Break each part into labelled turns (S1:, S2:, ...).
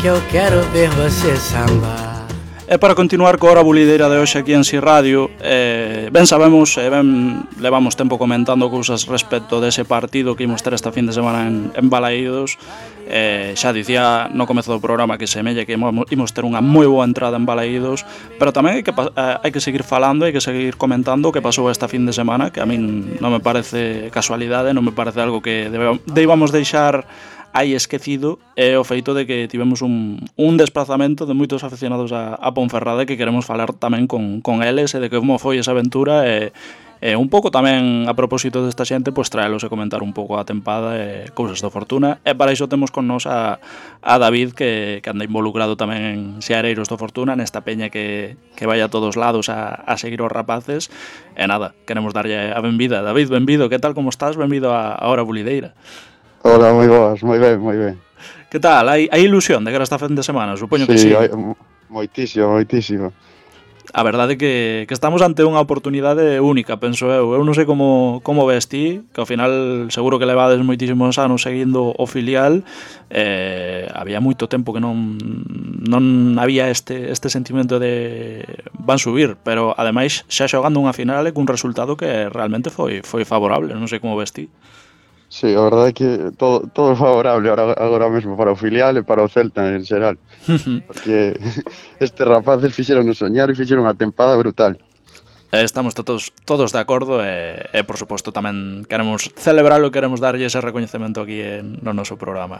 S1: que eu quero ver você sambar.
S2: E para continuar coa hora bulideira de hoxe aquí en Si Radio, ben sabemos e ben levamos tempo comentando cousas respecto dese partido que imos ter esta fin de semana en Balaídos. Xa dicía no comezo do programa que semella que imos ter unha moi boa entrada en Balaídos, pero tamén hai que seguir falando, hai que seguir comentando o que pasou esta fin de semana, que a min non me parece casualidade, non me parece algo que debamos deixar hai esquecido, é o feito de que tivemos un desplazamento de moitos aficionados a Ponferrada, que queremos falar tamén con eles e de como foi esa aventura e un pouco tamén a propósito desta xente, pois traelos e comentar un pouco a tempada e cousas do Fortuna, e para iso temos con nos a David que anda involucrado tamén en Seareiros do Fortuna, nesta peña que vai a todos lados a seguir os rapaces, e nada, queremos darlle a benvida. David, benvido, que tal, como estás? Benvido a Hora Bulideira.
S3: Hola, moi boas, moi ben, moi ben.
S2: Que tal? Hai ilusión de que era esta fin de semana? Supoño que sí.
S3: Sí, moitísimo.
S2: A verdade que estamos ante unha oportunidade única, penso eu. Eu non sei como ves ti, que ao final seguro que levades moitísimos anos seguindo o filial. Había moito tempo que non había este sentimento de van subir, pero ademais xa xogando unha final e cun resultado que realmente foi favorable. Non sei como ves ti.
S3: Sí, a verdade é que todo é favorable agora mesmo para o filial e para o Celta en xeral. Porque estes rapaces fixeron soñar e fixeron unha tempada brutal.
S2: Estamos todos de acordo e por suposto tamén queremos celebralo e queremos darlle ese recoñecemento aquí no noso programa.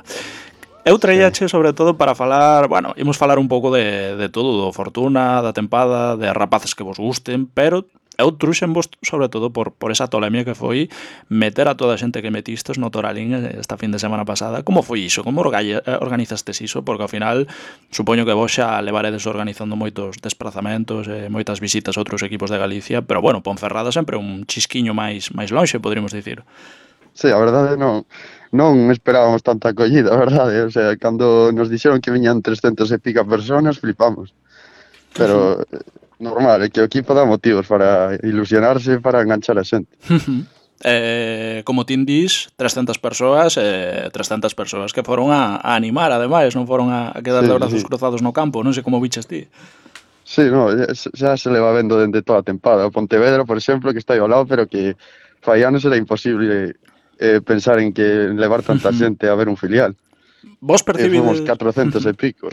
S2: Eu traíache sobre todo para falar, bueno, imos falar un pouco de todo, do Fortuna, da tempada, de rapaces que vos gusten, pero eu truxenvos sobre todo por esa tolemia que foi meter a toda a xente que metistes no Toralín esta fin de semana pasada. Como foi iso? Como organizastes iso? Porque ao final supoño que vos xa levaredes organizando moitos desplazamentos e moitas visitas a outros equipos de Galicia, pero bueno, Ponferrada sempre un chisquiño máis lonxe, poderíamos dicir.
S3: Sí, a verdade non esperábamos tanta acollida, a verdade. O sea, cando nos dixeron que viñan 300 e pica personas, flipamos. Pero normal, é que o equipo dá motivos para ilusionarse, para enganchar a xente.
S2: Como ti dis, 300 persoas que foron a animar, ademais, non foron a quedar de brazos cruzados no campo, non sei como biches ti.
S3: Sí, no, xa se le va vendo dende toda a tempada. O Pontevedra, por exemplo, que está aí ao lado, pero que fai anos era imposible pensar en que levar tanta xente a ver un filial.
S2: Vos percibides...
S3: Fomos 400 e pico.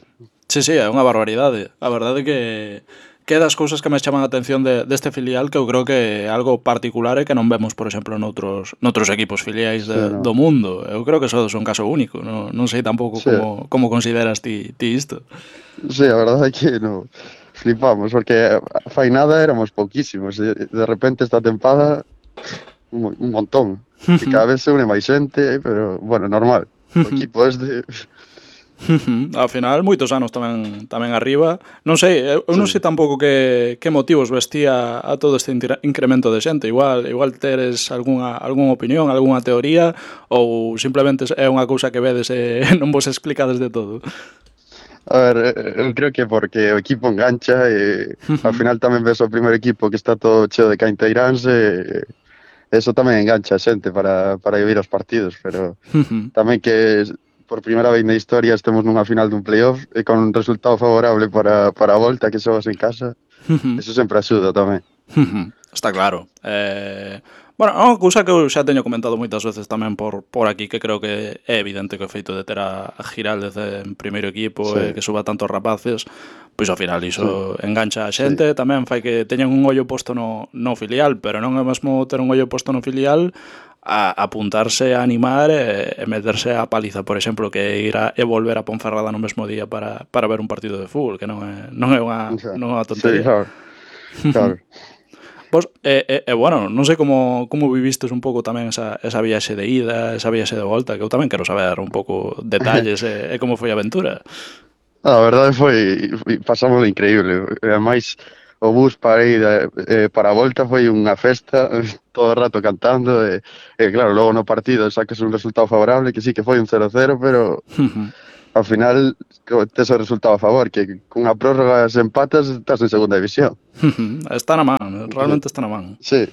S2: Sí, é unha barbaridade. A verdade que das cousas que me chaman a atención deste filial, que eu creo que é algo particular e que non vemos, por exemplo, noutros equipos filiais do mundo. Eu creo que sodes un caso único. Non sei tampouco como consideras ti isto.
S3: Sí, a verdade é que flipamos, porque fai nada éramos pouquísimos. De repente esta tempada un montón. Que cada vez se une máis xente, pero, bueno, normal. O equipo
S2: Ao final, moitos anos tamén arriba. Non sei, eu non sei tampouco que motivos vestía a todo este incremento de xente. Igual teres algunha opinión, algunha teoría, ou simplemente é unha cousa que vedes e non vos explicades de todo.
S3: A ver, eu creo que porque o equipo engancha e ao final tamén ves o primeiro equipo que está todo cheo de cainteiráns e eso tamén engancha a xente para ir aos partidos, pero tamén que por primeira vez na historia estemos nunha final dun playoff e con un resultado favorable para a volta que xogas en casa, eso sempre axuda tamén.
S2: Está claro. Bueno, é unha cousa que eu xa teño comentado moitas veces tamén por aquí, que creo que é evidente que o feito de ter a Giraldez en primeiro equipo e que suba tantos rapaces, pois ao final iso engancha a xente, tamén fai que teñan un ollo posto no filial, pero non é mesmo ter un ollo posto no filial a apuntarse a animar e meterse a paliza, por exemplo, que ir e volver a Ponferrada no mesmo día para ver un partido de fútbol, que non é unha tontería.
S3: Sí, claro.
S2: Pois, bueno, non sei como vivistes un pouco tamén esa viaxe de ida, esa viaxe de volta, que eu tamén quero saber un pouco detalles e como foi a aventura.
S3: A verdade pasamos increíble, e ademais o bus para ir para a volta foi unha festa, todo o rato cantando e claro, logo no partido sacas un resultado favorable, que sí que foi un 0-0, pero ao final tes o resultado a favor, que cunha prórroga se empatas estás en segunda división.
S2: Está na man, realmente está na man.
S3: Sí,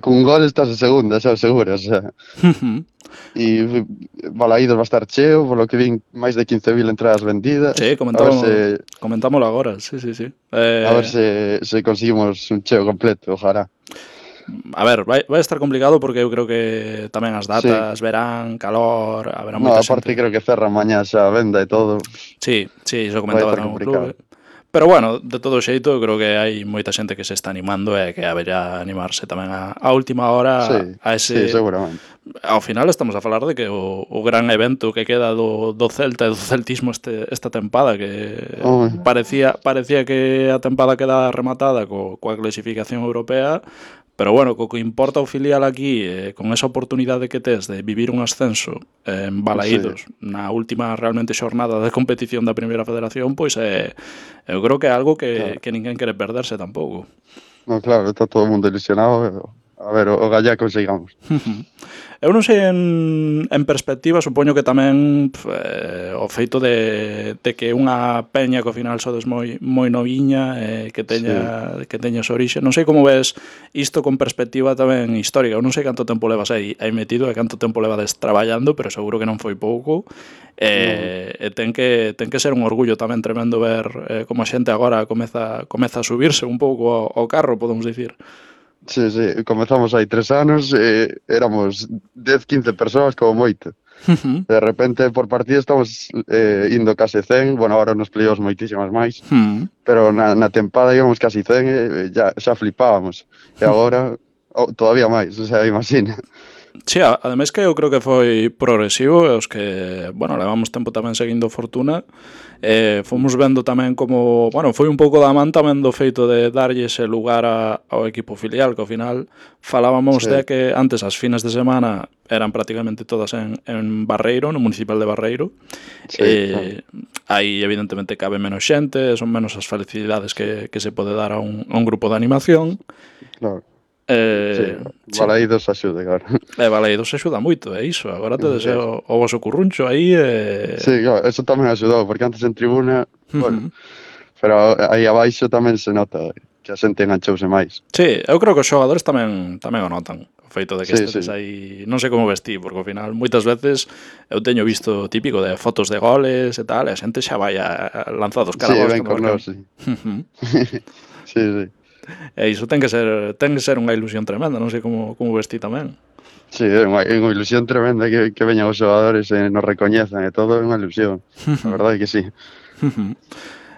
S3: cun gol estás en segunda, xa o seguro, o sea. E Balaídos va a estar cheo, polo que vin máis de 15.000 entradas vendidas.
S2: Sí, comentámoslo agora, sí.
S3: A ver se conseguimos un cheo completo, ojalá.
S2: A ver, vai estar complicado porque eu creo que tamén as datas, verán, calor, haberá moita
S3: aparte
S2: xente.
S3: creo que cerra mañá xa a venda e todo.
S2: Sí, iso comentaba tamén o clube. Pero bueno, de todo xeito, eu creo que hai moita xente que se está animando e que haberá animarse tamén a última hora a ese...
S3: Sí, seguramente.
S2: Ao final estamos a falar de que o gran evento que queda do Celta e do celtismo esta tempada, que parecía que a tempada queda rematada coa clasificación europea, pero bueno, co que importa o filial aquí, con esa oportunidade que tes de vivir un ascenso en Balaídos na última realmente xornada de competición da Primeira Federación, pois eu creo que é algo que ninguén quere perderse tampouco.
S3: No, claro, está todo o mundo ilusionado. A ver, o gallá consigamos.
S2: Eu non sei en perspectiva, supoño que tamén o feito de que unha peña que ao final sodes moi noviña, que teña esa orixe. Non sei como ves isto con perspectiva tamén histórica. Eu non sei canto tempo levas aí metido e canto tempo levades traballando, pero seguro que non foi pouco. E ten que ser un orgullo tamén tremendo ver como a xente agora comeza a subirse un pouco ao carro, podemos dicir.
S3: Sí, comezamos hai 3 anos, éramos 10-15 persoas como moito. De repente por partida estamos indo case 100, bueno, agora nos playoffs moitísimas máis, pero na tempada íbamos casi 100 e xa flipábamos. E agora todavía máis, o sea, imagina.
S2: Sí, ademais que eu creo que foi progresivo e os que, bueno, levamos tempo tamén seguindo Fortuna, fomos vendo tamén como, bueno, foi un pouco da man tamén do feito de darlle ese lugar ao equipo filial, que ao final falábamos de que antes as fines de semana eran prácticamente todas en Barreiro, no municipal de Barreiro. Aí evidentemente cabe menos xente, son menos as facilidades que se pode dar a un grupo de animación.
S3: Claro. Balaídos axuda, claro.
S2: Balaídos axuda moito, é iso. Agora tedes o vosso curruncho aí.
S3: Sí, claro, eso tamén axudou, porque antes en tribuna, bueno, pero aí abaixo tamén se nota que a xente enganchouse máis.
S2: Sí, eu creo que os xogadores tamén o notan. O feito de que estedes aí, non sei como vestí, porque ao final moitas veces eu teño visto típico de fotos de goles e tal, e a xente xa vai lanzados cara a vos.
S3: Sí, ven con nós, sí. Sí.
S2: E iso ten que ser unha ilusión tremenda, non sei como vestí tamén.
S3: Sí, é unha ilusión tremenda que veñan os xogadores e nos recoñezan e todo, é unha ilusión, a verdade que sí.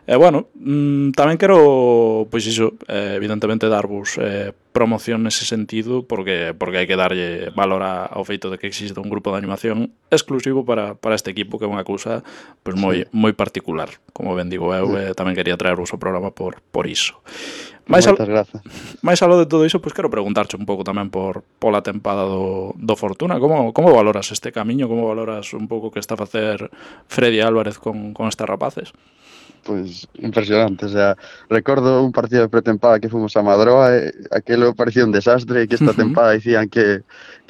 S2: E bueno, tamén quero, pois iso, evidentemente darvos promoción nese sentido, porque hai que darlle valor ao feito de que existe un grupo de animación exclusivo para este equipo, que é unha cousa pois moi particular, como ben digo eu, tamén quería traervos o programa por iso.
S3: Moitas grazas.
S2: Mais aló de todo iso, pois quero preguntarche un pouco tamén pola tempada do Fortuna. Como valoras este camiño? Como valoras un pouco que está a facer Freddy Álvarez con estes rapaces?
S3: Pois impresionante, o sea, recordo un partido de pretempada que fomos a Madroa e aquilo parecía un desastre, que esta tempada dicían que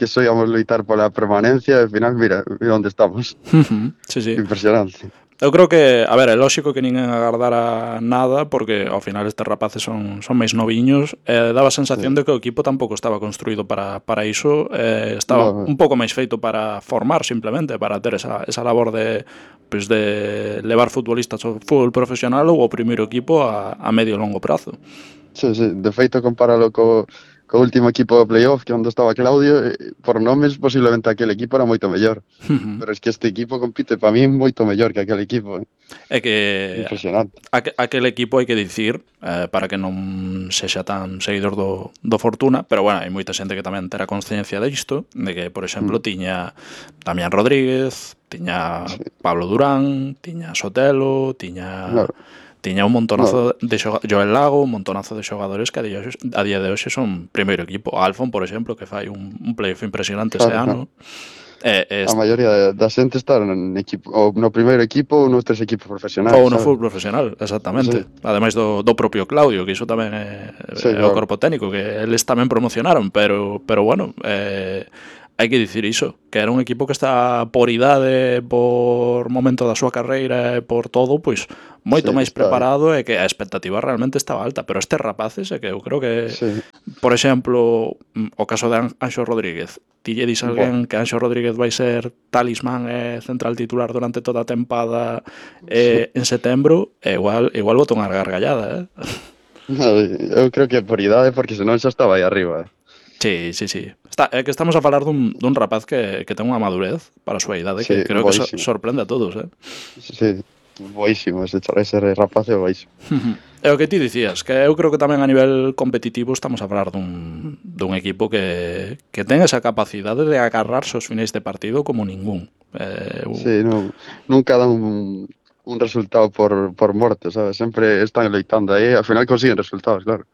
S3: só íamos loitar pola permanencia e ao final, mira onde estamos.
S2: Sí.
S3: Impresionante.
S2: Eu creo que, a ver, é lógico que ninguén agardara nada, porque ao final estes rapaces son máis noviños, daba a sensación de que o equipo tampouco estaba construído para iso, estaba un pouco máis feito para formar, simplemente, para ter esa labor de levar futbolistas ao fútbol profesional ou ao primeiro equipo a medio e longo prazo.
S3: Sí, de feito, compáralo co último equipo de playoff, que onde estaba Claudio, por nomes, posiblemente aquel equipo era moito mellor. Pero es que este equipo compite para mí moito mellor que aquel equipo.
S2: É que
S3: impresionante.
S2: Aquel equipo, hai que dicir, para que non sexa tan seguidor do Fortuna, pero bueno, hai moita xente que tamén terá consciencia disto, de que, por exemplo, tiña Damián Rodríguez, tiña Pablo Durán, tiña Sotelo, tiña un montonazo de Joel Lago, un montonazo de xogadores que a día de hoxe son primeiro equipo. Alfon, por exemplo, que fai un playoff impresionante ese ano.
S3: A maioría da xente está no primeiro equipo ou nos 3 equipos profesionais.
S2: Ou no fútbol profesional, exactamente. Ademais do propio Claudio, que iso tamén é o corpo técnico, que eles tamén promocionaron, pero bueno, hai que dicir iso, que era un equipo que está por idade, por momento da súa carreira e por todo, pois moito
S3: Sí, que
S2: máis
S3: está aí.
S2: preparado e que a expectativa realmente estaba alta, pero estes rapaces é que eu creo que,
S3: Sí.
S2: por exemplo, o caso de Anxo Rodríguez, ti lle dis a
S3: Buah.
S2: alguén que Anxo Rodríguez vai ser talismán e central titular durante toda a tempada en setembro, igual botou unha gargallada,
S3: No, eu creo que por idade, porque senón xa estaba aí arriba.
S2: Sí. É que estamos a falar dun rapaz que ten unha madurez para a súa idade que
S3: Sí,
S2: creo que
S3: boísimo.
S2: sorprende a todos,
S3: Sí, boísimo, ese rapaz é boísimo.
S2: É o que ti dicías, que eu creo que tamén a nivel competitivo estamos a falar dun equipo que ten esa capacidade de agarrarse os finais de partido como ningún.
S3: Sí, nunca dan un resultado por morte, sabes? Sempre están loitando aí, ao final consiguen resultados, claro.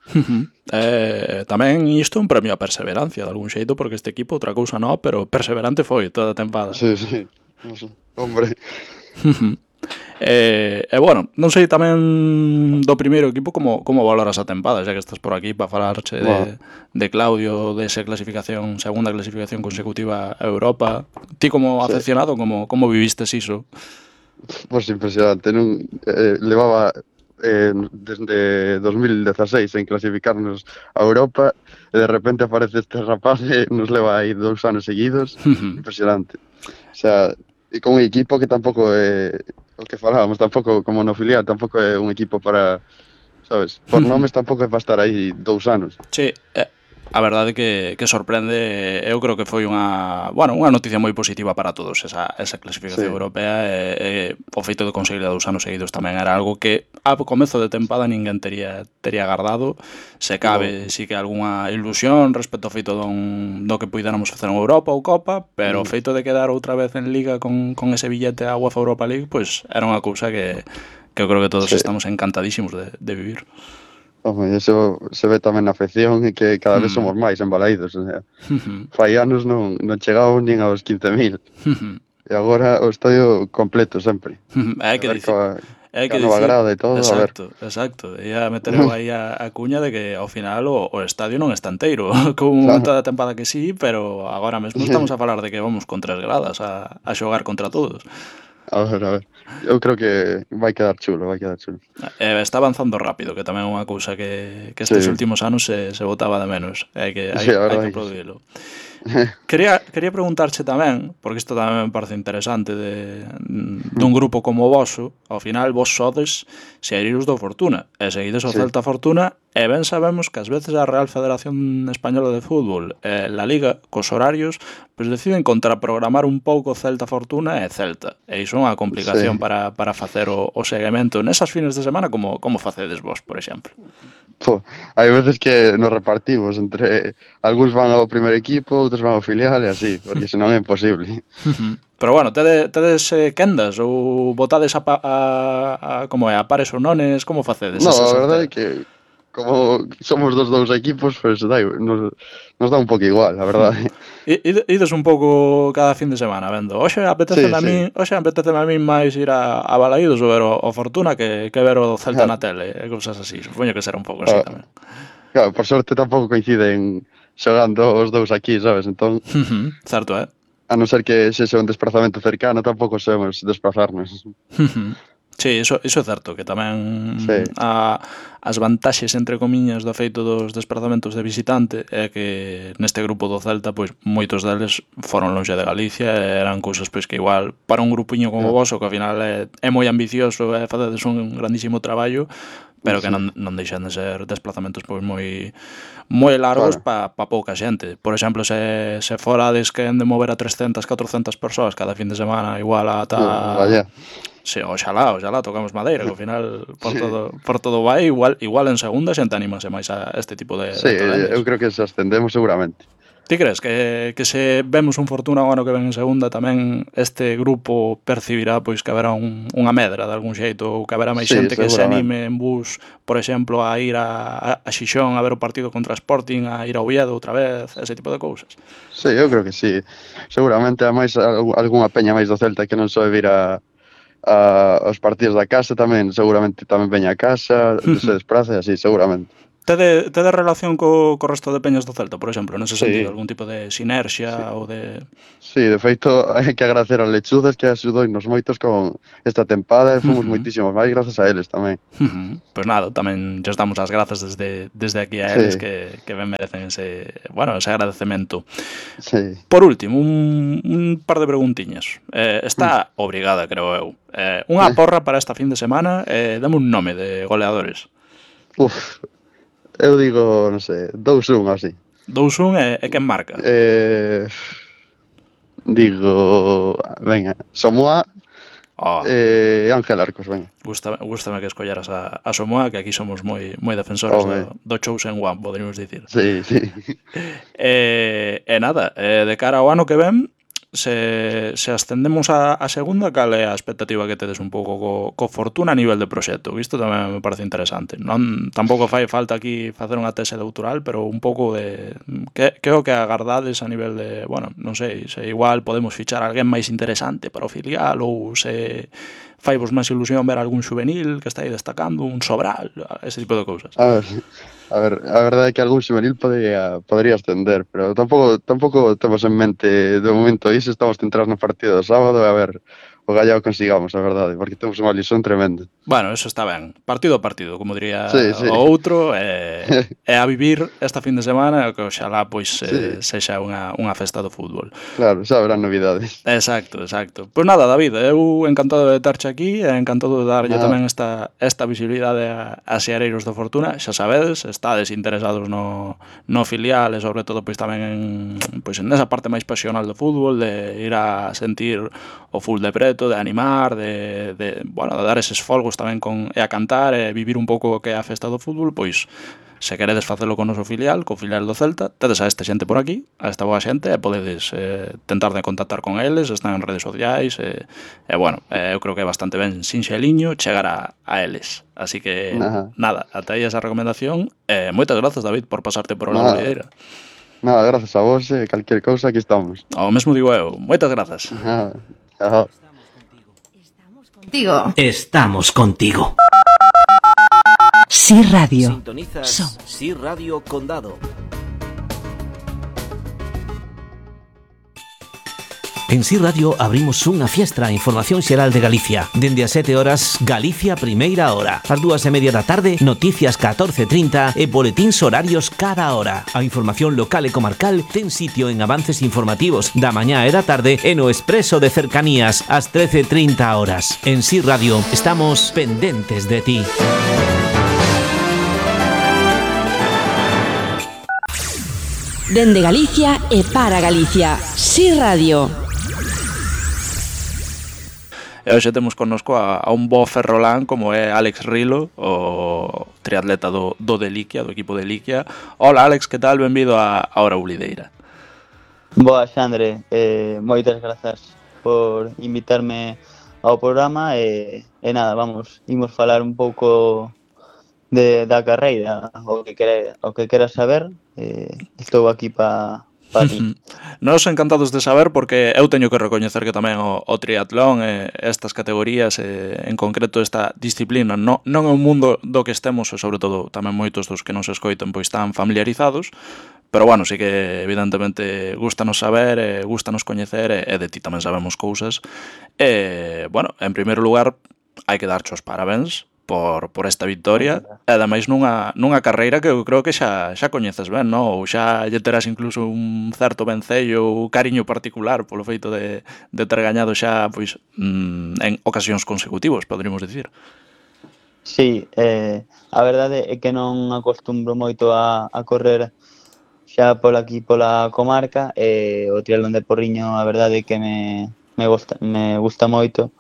S2: Tamén isto é un premio a perseverancia de algún xeito, porque este equipo outra cousa non, pero perseverante foi toda a tempada.
S3: Sí, hombre.
S2: Bueno, non sei tamén do primeiro equipo como valoras a tempada, xa que estás por aquí para falarche de Claudio, desa clasificación, segunda clasificación consecutiva a Europa. Ti como aficionado, como vivistes iso?
S3: Pois impresionante, levaba desde 2016 en clasificarnos a Europa e de repente aparece este rapaz e nos leva aí 2 anos seguidos. Impresionante. O sea, e con un equipo que tampouco é o que falábamos, tampouco como no filial, tampouco é un equipo para, sabes, por nomes tampouco é para estar aí 2 anos.
S2: Sí, a verdade que sorprende, eu creo que foi unha noticia moi positiva para todos esa clasificación europea e o feito de conseguir 2 anos seguidos tamén era algo que a comezo de tempada ninguén tería agardado. Se cabe, sí que algunha ilusión respecto ao feito do que puidéramos facer en Europa ou Copa, pero o feito de quedar outra vez en Liga con ese billete a UEFA Europa League, pois era unha cousa que eu creo que todos estamos encantadísimos de vivir.
S3: Home, eso se ve tamén na afección e que cada vez somos máis embalaídos, o sea, fai anos non chegábamos nin aos 15.000 e agora o estadio completo sempre.
S2: Hai que dicir,
S3: nova grada e todo,
S2: exacto, a ver. Exacto, e a meter aí a cuña de que ao final o estadio non está enteiro, como un momento da tempada que sí, pero agora mesmo estamos a falar de que vamos con 3 gradas a xogar contra todos.
S3: A ver, eu creo que vai quedar chulo.
S2: Está avanzando rápido, que tamén é unha cousa que estes últimos anos se botaba de menos, hai que aplaudilo. Quería preguntarche tamén, porque isto tamén me parece interesante dun grupo como o voso, ao final vos sodes sereiros do Fortuna, e seguides o Celta Fortuna, e ben sabemos que ás veces a Real Federación Española de Fútbol e la Liga, cos horarios, pois deciden contraprogramar un pouco Celta Fortuna e Celta, e iso é unha complicación para facer o seguimento nesas fines de semana, como facedes vos, por exemplo?
S3: Hai veces que nos repartimos entre algúns van ao primer equipo, outros van ao filial e así, porque senón é imposible.
S2: Pero bueno, tedes quendas ou botades a pares ou nones, como facedes?
S3: No, a verdade é que como somos dos dous equipos, pues nos dá un pouco igual, a verdade.
S2: Ides un pouco cada fin de semana vendo. Hoxe apeteceme a min máis ir a Balaídos ou ver o Fortuna que ver o Celta na tele e cousas así. Supoño que será un pouco así tamén.
S3: Claro, por sorte tampouco coinciden xogando os dous aquí, sabes? Entón,
S2: certo,
S3: a non ser que sexa un desplazamento cercano, tampouco sabemos desplazarnos.
S2: Sí, iso é certo, que tamén as vantaxes, entre comiñas, do feito dos desplazamentos de visitante é que neste grupo do Celta, pois moitos deles foron lonxe de Galicia e eran cousas pois que igual para un grupiño como vos, que ao final é moi ambicioso e facedes un grandísimo traballo, pero que non deixan de ser desplazamentos pois moi largos para pouca xente. Por exemplo, se forades que han de mover a 300, 400 persoas cada fin de semana, igual ata... Sí, oxalá, tocamos madeira, que ao final por todo vai, igual en segunda xente anímase máis a este tipo de torneos.
S3: Eu creo que se ascendemos seguramente.
S2: Ti crees que se vemos un Fortuna o ano que ven en segunda tamén este grupo percibirá pois que haberá unha medra de algún xeito ou que haberá máis xente que se anime en bus, por exemplo, a ir a Xixón a ver o partido contra Sporting, a ir a Oviedo outra vez, ese tipo de cousas?
S3: Sí, eu creo que sí. Seguramente a máis algunha peña máis do Celta que non soe vir aos partidos da casa tamén, seguramente tamén veña a casa, se despraza e así, seguramente.
S2: Tede relación co resto de peñas do Celta, por exemplo, nese sentido,
S3: Sí,
S2: algún tipo de sinerxia
S3: sí.
S2: ou de...
S3: Sí, de feito, hai que agradecer a Lechudas que axudounos moitos con esta tempada e fomos moitísimos máis grazas a eles tamén.
S2: Pois nada, tamén lles damos as grazas desde aquí a eles
S3: Sí,
S2: que ben merecen ese agradecemento.
S3: sí.
S2: Por último, un par de preguntiñas. Está obrigada, creo eu. Unha porra para esta fin de semana, dame un nome de goleadores.
S3: Uf, eu digo, non sei, 2-1 así.
S2: 2-1 e quen marca?
S3: Digo, venga, Samoa
S2: Oh,
S3: Ángel Arcos, venga.
S2: gústame que escolleras a Somoa, que aquí somos moi defensores
S3: Home,
S2: do chosen one, poderíamos dicir.
S3: sí, sí.
S2: Nada, de cara ao ano que ven, se ascendemos a segunda, cal é a expectativa que tedes un pouco co Fortuna a nivel de proxecto? Isto tamén me parece interesante. Non, tampouco fai falta aquí facer unha tese doutoral, pero un pouco de que o que agardades a nivel de, bueno, non sei, se igual podemos fichar alguén máis interesante para o filial ou se faivos máis ilusión ver algún xuvenil que está aí destacando, un Sobral, ese tipo de cousas.
S3: A verdade é que algún xuvenil podría ascender, pero tampouco temos en mente de momento iso, estamos centrados no partido do sábado e a ver o Gallao consigamos, a verdade, porque temos unha lesión tremenda.
S2: Bueno, eso está ben. Partido a partido, como diría
S3: Sí, sí.
S2: o outro, e a vivir esta fin de semana, que oxalá pois
S3: Sí.
S2: sexa unha festa do fútbol.
S3: Claro, xa habrá novidades.
S2: Exacto. Pois nada, David, eu encantado de terche aquí e encantado de darlle
S3: Nada.
S2: tamén esta visibilidade a seareiros do Fortuna. Xa sabedes, estades interesados no filial e sobre todo pois tamén en esa parte máis pasional do fútbol, de ir a sentir o full de preto, de animar, de dar eses folgos tamén e a cantar e vivir un pouco o que é a festa do fútbol, pois se queredes facelo con o noso filial, co filial do Celta, tedes a esta xente por aquí, a esta boa xente, e podedes tentar de contactar con eles, están en redes sociais, eu creo que é bastante ben sinxeliño chegar a eles. Así que, nada, ata aí esa recomendación, moitas grazas, David, por pasarte por la Bulideira.
S3: Nada, gracias a vos, calquer cousa, aquí estamos.
S2: O mesmo digo eu, moitas grazas.
S3: Chao.
S4: Estamos contigo. Sí Radio.
S5: Sintonizas Sí Radio Condado.
S4: En Sí Radio abrimos unha fiestra a información xeral de Galicia. Dende as 7 horas, Galicia Primeira Hora. Ás 2:30 da tarde, noticias 14:30 e boletíns horarios cada hora. A información local e comarcal ten sitio en avances informativos da mañá e da tarde e no Expreso de Cercanías ás 13:30 horas. En Sí Radio estamos pendentes de ti.
S6: Dende Galicia e para Galicia. Sí Radio.
S2: E hoxe temos connosco a un bo ferrolán como é Alex Rilo, o triatleta do de Liquia, do equipo de Liquia. Hola Alex, que tal? Benvido a Hora Bulideira.
S7: Boa, Xandre, moitas grazas por invitarme ao programa e nada, imos falar un pouco da carreira, o que queras saber, estou aquí para ti.
S2: Nos encantados de saber, porque eu teño que recoñecer que tamén o triatlón e estas categorías, en concreto esta disciplina, non é un mundo do que estemos, e sobre todo tamén moitos dos que nos escoitan pois están familiarizados, pero bueno, sí que evidentemente gustanos saber, gustanos coñecer, e de ti tamén sabemos cousas. Bueno, en primeiro lugar, hai que darche os parabéns por esta victoria, e ademais nunha carreira que eu creo que xa coñeces ben, non? Ou xa lle terás incluso un certo vencello ou cariño particular polo feito de ter gañado xa pois en ocasións consecutivos, poderíamos dicir.
S7: Sí, a verdade é que non acostumbro moito a correr xa pola comarca, e o triatlón de Porriño a verdade é que me gusta moito.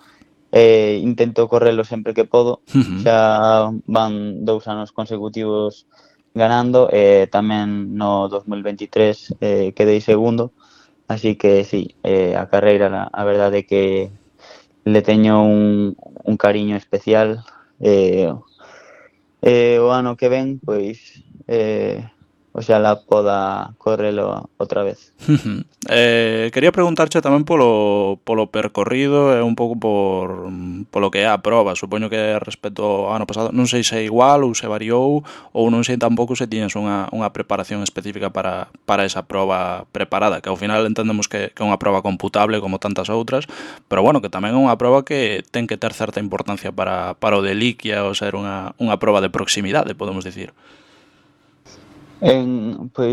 S7: Intento correlo sempre que podo. Xa van 2 anos consecutivos ganando, e tamén no 2023 quedei segundo, así que sí, a carreira a verdade é que le teño un cariño especial. O ano que ven, pois oxalá poda correlo outra vez.
S2: Quería preguntarche tamén polo percorrido e un pouco polo que é a proba. Supoño que respecto ao ano pasado non sei se é igual ou se variou, ou non sei tampouco se tiñes unha preparación específica para esa proba preparada, que ao final entendemos que é unha proba computable como tantas outras, pero bueno, que tamén é unha proba que ten que ter certa importancia para o de liquia ou ser unha proba de proximidade, podemos dicir.
S7: Pois